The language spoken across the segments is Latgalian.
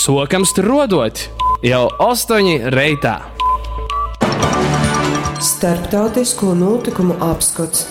Sokam struodot jau 8 reitā. Starptautisko notikumu apskots.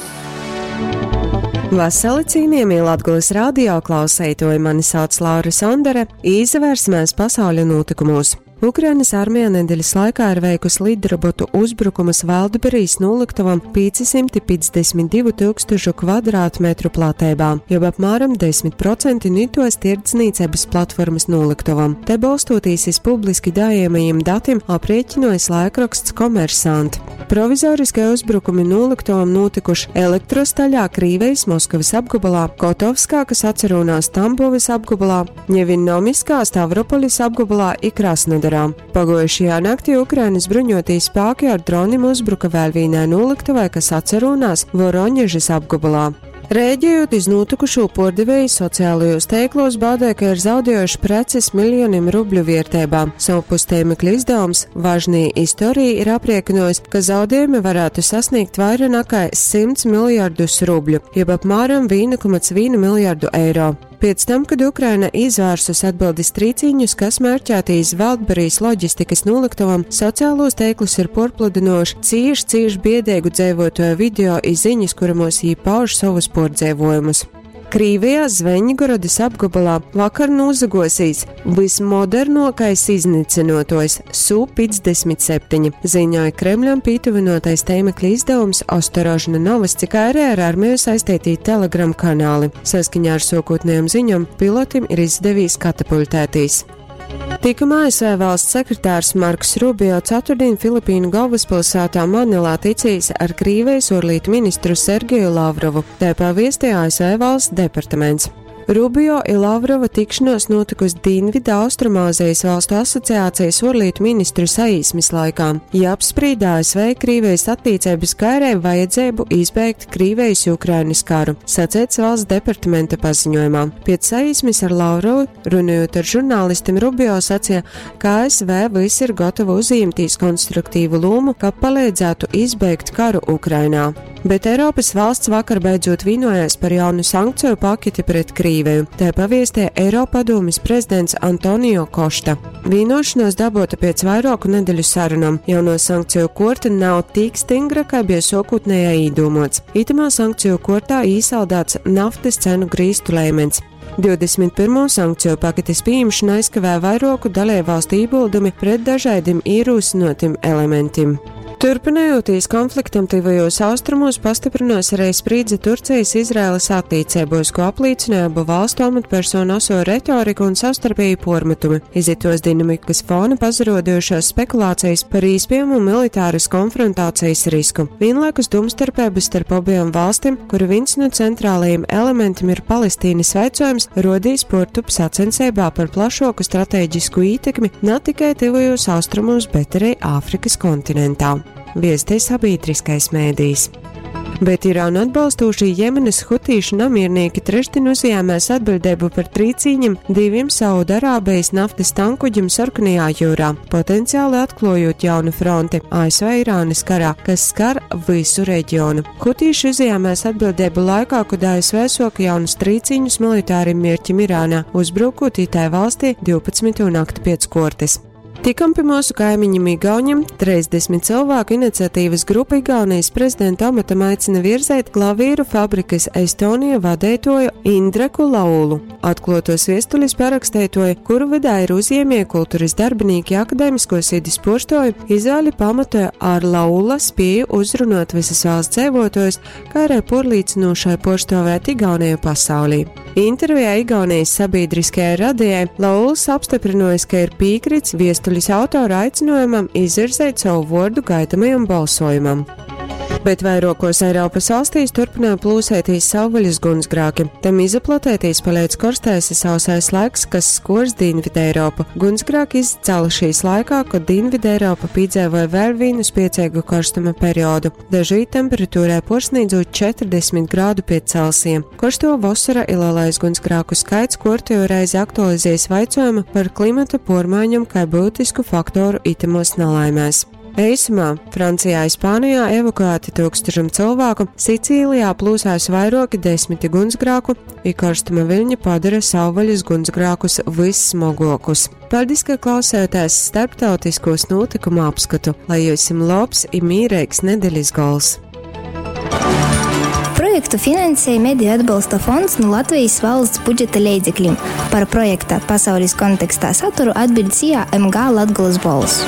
Vasali cienījamie Latgulas radio klausētoji, mani sauc Laura Sondere, īsavērsimies pasauļa notikumos. Ukrainas armija nedēļas laikā ir veikusi lidrobotu uzbrukumus Valdberijas noliktavam 552 tūkstošu kvadrātmetru platībā, jeb apmēram 10% nitos tirdzniecības platformas noliktavam. Te balstoties iz publiski dājamajiem datiem aprēķinojas laikraksts Komersant. Provizoriskie uzbrukumi noliktavam notikuši elektrostaļā Krīvejas Moskavas apgabalā, Kotovskā, kas atcerunās Tambovas apgabalā, Ņevinnomiskā Stavropolis apgabalā i Krasnodarā. Pagojušajā naktī Ukrainas bruņotie spēki ar dronim uzbruka vēl vienai noliktavai, kas atcerunās Voroņežas apgabalā. Rēģējot iz notikušo pordevēju sociālajos teiklos baudē, ka ir zaudējuši preces miljoniem rubļu vērtībā. Savpus tēmekļa izdevums Važnī istorija ir apriekinojis, ka zaudējumi varētu sasniegt vairāk nekā 100 miljardus rubļu, jeb apmēram 1,1 miljardu eiro. Pēc tam, kad Ukraina izvērsus atbildes trīciņus, kas mērķēti iz Valdberijas loģistikas noliktavam, sociālos teiklus ir porpludinoši cīši, cīši biedēgu dzēvotoju video izziņas, kuramos jī pauž savus pordzēvojumus. Krīvijā Zveņgorodas apgabalā vakar nozagosīs vismodernākais iznīcinotojs Su-57, ziņoja Kremļam pītuvinotais tēmekļa izdevums Ostorožna Novas, cik arī ar armiju saistītī Telegram kanāli. Saskaņā ar sokotnējām ziņām pilotim ir izdevies katapultētīs. Tikuma ASV valsts sekretārs Marks Rubio ceturtdien Filipīnu galvaspilsētā Manilā ticīs ar Krīvijas orlītu ministru Sergeju Lavrovu, tā paviestīja ASV valsts departaments. Rubio i Lavrova tikšanos notikusi Dienvidu Austrumāzijas valstu asociācijas orlītu ministru saīsmes laikā. Ja apsprīd ASV Krīvijas attiecības kairē vajadzību izbeigt Krīvijas Ukrainas karu, sacēts valsts departamenta paziņojumā. Pēc saīsmes ar Lavrovu, runājot ar žurnālistiem, Rubio sacīja, ka ASV viss ir gatava uzņemties konstruktīvu lomu, ka palīdzētu izbeigt karu Ukrainā. Bet Eiropas valsts vakar beidzot vienojās par jaunu sankciju paketi pret Krīviju. Tā paviestē Eiropadomes prezidents Antonio Košta. Vienošanās dabota pēc vairāku nedēļu sarunām. Jauno sankciju korta nav tik stingra, kā bija sokotnējā īdomāts. Itamā sankciju kortā īsaldāts naftas cenu grīstu lēmens. 21. sankciju paketes pieņemšana aizkavē vairāku dalībvalstu ieguldumi pret dažādiem ierosinātiem elementiem. Turpinojoties konfliktam tuvajos austrumos, pastiprinās arī sprīdze Turcijas-Izraēlas attiecībos, ko apliecināja abu valstu amatpersonu oso retoriku un savstarpēju pormetumi. Izitos dinamikas fona pazarodojušās spekulācijas par īspējamu militāras konfrontācijas risku. Vienlaikus domstarpības starp abiem valstīm, kuru viens no centrālajiem elementiem ir Palestīnas vaicojums, rodīs portup sacensībā par plašāku strateģisku ietekmi ne tikai tuvajos austrumos, bet arī Āfrikas kontinentā. Viestē sabiedriskais mēdījis. Bet Irānu atbalstošie Jemenas hutīšu namiernieki trešdien uzņēmās atbildību par trīcīņiem diviem Saudarābijas naftas tankuģiem Sarkanajā jūrā, potenciāli atklājot jaunu fronti ASV-Irānas karā, kas skar visu reģionu. Hutīši uzņēmās atbildību laikā, kad ASV soka jaunus trīcīņus militāriem mērķim Irānā, uzbrukot itai valstī 12. nakti pēc kortes. Tikam pie mūsu kaimiņam Igauņam 30 cilvēku iniciatīvas grupa Igaunijas prezidenta amatam aicina virzēt klavīru fabrikas Estonija vadētoju Indreku Laulu. Atklātos viestulis parakstētoju, kuru vidā ir uzņēmēji, kultūras darbinieki, akadēmisko sidis porstoju, izvēli pamatoja ar Laula spēju uzrunāt visas valsts dzīvotājus, kā arī porlīdzinošai porstovēt Igauniju pasaulī. Intervijā Igaunijas sabiedriskajai radijai Lauls apstiprinojis, ka ir piekrits viestulis autora aicinājumam izvirzēt savu vordu gaidamajam balsojumam. Bet vairākos Eiropas valstīs turpināja plūsētīs savvaļas gunsgrāki. Tam izaplatētīs paliec korstais sausais laiks, kas skors Dienvidu Eiropu. Gunsgrāki izcēlušies laikā, kad Dienvidu Eiropa piedzīvoja vēl vienu spiecīgu karstuma periodu. Dažī temperatūrē porsniedzot 40 grādu pie Celsija. Karsto vasara ir lielais gunsgrāku skaits, kortējo reizi aktualizējas vaicojumu par klimata pormaiņam kā būtisku faktoru itamos nelaimēs. Eisumā Francijā i Spānijā evakuēti tūkstošam cylvāku, Sicīlijā plūsās vairuoki desmiti gunsgrāku, i korstuma viļņi padara savvaļas gunsgrākus vyssmoguokus. Paļdis, ka klausējāties starptautiskos notikumu apskatu, lai jums lobs i mīreigs nedeļas gols! Projektu finansēja Mediju atbalsta fonds nu Latvijas valsts budžeta leidzeklim. Par projekta pasaules kontekstā saturu atbild SIA MG Latgolas Bolss.